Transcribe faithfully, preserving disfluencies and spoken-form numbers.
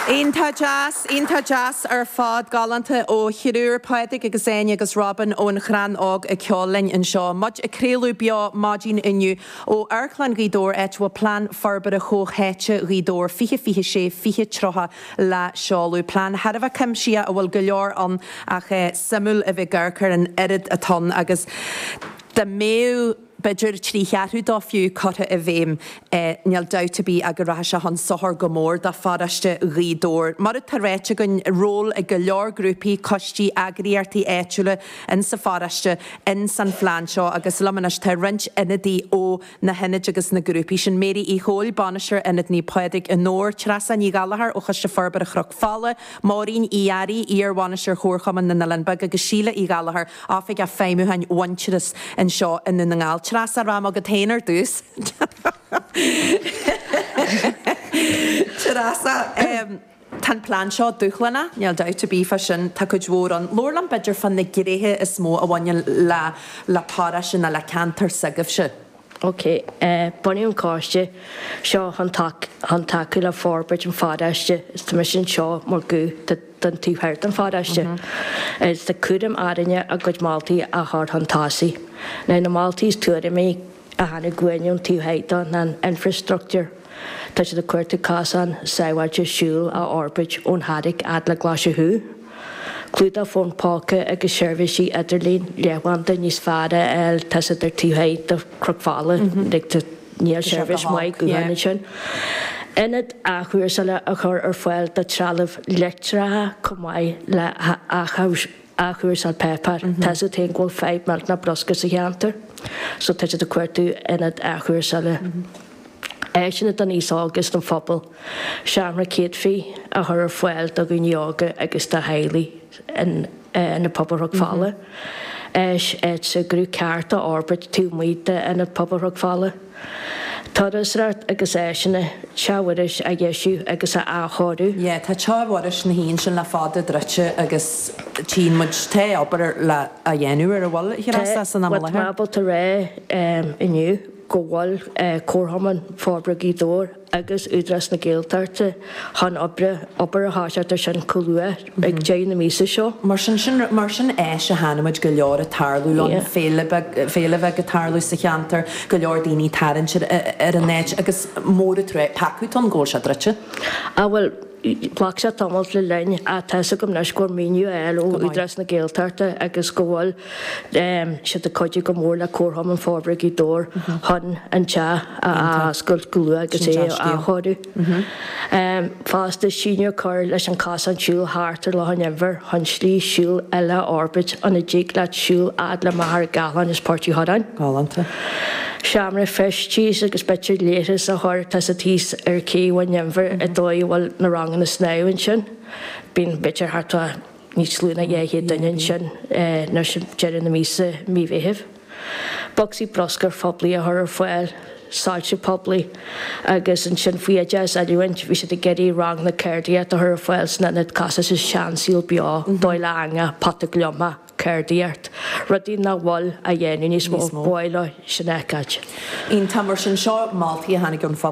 Iontach deas, iontach deas ar fad galánta ó thriúr Pádraig agus Áine agus Robin ón Chrann Óg ag ceol linn anseo. Muid ag craoladh beo maidin inniu ó Amharclann Ghaoth Dobhair áit a bhfuil plean forbartha comhtháite Ghaoth Dobhair fiche fiche sé fiche tríocha le seoladh. Plean thar a bheith cuimsitheach a bhfuil go leor ann ach suimiúil a bheith ag amharc ar an oiread atá ann agus dá mbeadh b'fhéidir trí cheathrú dó fiú curtha i bhfeidhm níl dabht ar bith ach go rachadh sé chun sochair go mór do pharóiste Ghaoth Dobhair. Mar atá ráite againn ról ag go leor grúpaí, coistí, eagraíochtaí áitiúla in sa pharóiste in san phlean seo agus liom anois tá roinnt ionadaí ó na hionaid agus na grúpaí sin Mary Uí Chóil, Bainisteoir Ionad Naomh Pádraig i nDobhar, Treasa Ní Ghallchóir ó Choiste Forbartha Chnoc Fola, Máirín Uí Fhearraigh, iar-bhainisteoir Chomharchumann na nOileán Beag agus Síle Uí Ghallchóir, Oifigeach Feidhmiúcháin Mhuintearas anseo i nDún na nGall. Treasa rá agat féin ar dtús. Treasa um, Tá plean seo dúshlánach, níl dabht ar bith faoi sin tá cuid mhór ann. Labhair liom b'fhéidir fá na gnéithe is mó a bhaineann le le paróiste nó le ceantar s'agaibhse. Ok, uh, bunaíodh an coiste seo chun tacú le forbairt an pharóiste is tá mise anseo mar ghuth don taobh thoir den pharóiste. Is tá cúram orainne a gcuid moltaí a chur chun tosaigh. Na na moltaí is tuairimí a tháinig chugainn ón taobh thoir don an infrastructure. Tá siad ag cuartú cosán sábháilte siúil a fhorbairt ón Charraig fhad le Glaise Chú. Clúdach fón póca agus seirbhísí idirlín leathanbhanda níos fearr a fháil tá siad ar taobh thoir de Chnoc Fola níl seirbhís maith gutháin sin. Ionad athchúrsála a chur ar fáil do trealamh leictreach chomh maith le athchúrsáil páipéir. Tá siad féin go bhfuil fadhb millteanach bruscar sa cheantar, so tá siad ag cuartú ionad athchúrsála. Áiseanna don aos óg agus don phobal, seomra céadfaí a chur ar fáil do dhaoine óga agus do theaghlaigh in ionad pobail Chnoc Fola. Áis áit súgradh ceart a fhorbairt taobh amuigh d'ionad pobail Chnoc Fola. Turasóireacht agus áiseanna Teach Mhuiris a dheisiú agus a athchóiriú. Yeah, tá Teach Mhuiris na híon sin le fada druidte agus tchíonn muid tá obair le a dhéanamh ar a bhfuil Treasa san am i Tá láthair. ábalta rá inniu go bhfuil Comharchumann Forbartha Ghaoth Dobhair agus Údarás na Gaeltachta chun oibre obair a thoiseacht ar sin chomh luath ag deireadh na míosa seo. Mar sin sin mar sin éis a chonaic muid go leor ag tarlú an Yeah. féile beag féile bheag ag tarlú sa cheantar, go leor daoine tarraingt ar ar an áit agus mór tré pacú an ggóil se druidte. A bhfuil ghlac sé tamall le linn atá go leis gur míniú eil ó Go maith. Údarás na Gaeltachta agus go bhfuil siad ag cuidiú go mór le Comharchumann Forbartha Ghaoth Dobhair chun an teach a oscailt go luath agus Sin é deas-scéal. athchóiriú. Fosta síneadh cur leis an cosán siúil thart ar Loch an Inbhir chun slí siúil eile a fhorbairt ina dtig leat siúl fhad le Machaire Gathlán is Port Uí Churráin. Galánta. Seomra feistis agus b'fhéidir leithreas a chur tá sa tíos ar cé an Inbhir i dóigh bhfuil na ranganna snámha ansin. Bíonn b'fhéidir thart níos lú ná dhá chéad duine ansin nó sin deireadh na míosa mí Mheithimh. Bocsaí bruscair phoiblí a chur ar fáil, soilse poiblí agus ansin faoi oideachas oiliúint bhí siad ag iarraidh ranganna ceardaíochta a chur ar fáil san ionad costas is seansaol beo, dóigh le eangach, pota gliomach, ceardaíocht, rudaí nach bhfuil á dhéanamh níos mó Níos mó. báile sin fheiceáil. Iontach mar sin seo moltaí a tháinig ón phobal.